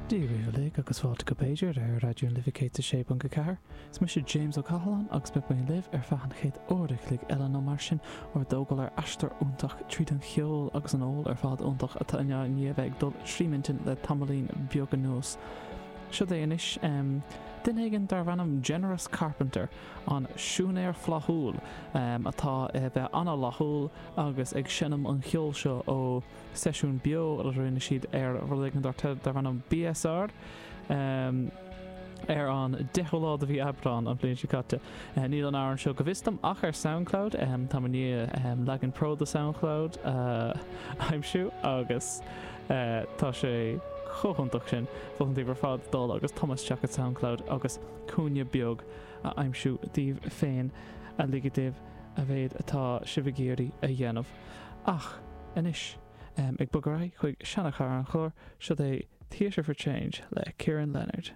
Dia dhaoibh uilig agus fáilte go B'fhéidir ar Raidió na Life 106.4. Is mise James Ó Cathaláin agus beidh mé libh ar feadh an chéad uair a chloig eile nó mar sin ár dtógáil ar aistear iontach tríd an cheol agus an ól ar fad iontach atá i ndiaidh a bheith ag dul trí m'intinn le tamaillín beag anuas. Siod é anois duine éigin darbh ainm Generous Carpenter, an siúinéir flaithiúil atá a bheith an-fhlaithiúil agus ag seinm an cheoil seo ó seisiún beo a rinne siad ar rud éigin darb ainm BSR ar an 10ú lá de mhí Aibreán an bhliain seo caite. Níl an amhrán seo go bhfios dom ach ar Soundcloud. Táim i ndiaidh leagan pro de Soundcloud a aimsiú agus tá sé chomh hiontach sin. Mholfainn daoibh ar fad dul agus tumadh isteach i Soundcloud agus cúinne beag a aimsiú daoibh féin a ligfidh daoibh a mhéad atá sibh ag iarraidh a dhéanamh. Ach anois, ag bogadh ar aghaidh chuig seanachara an chláir, siod é Theatre for Change le Ciaran Leonard.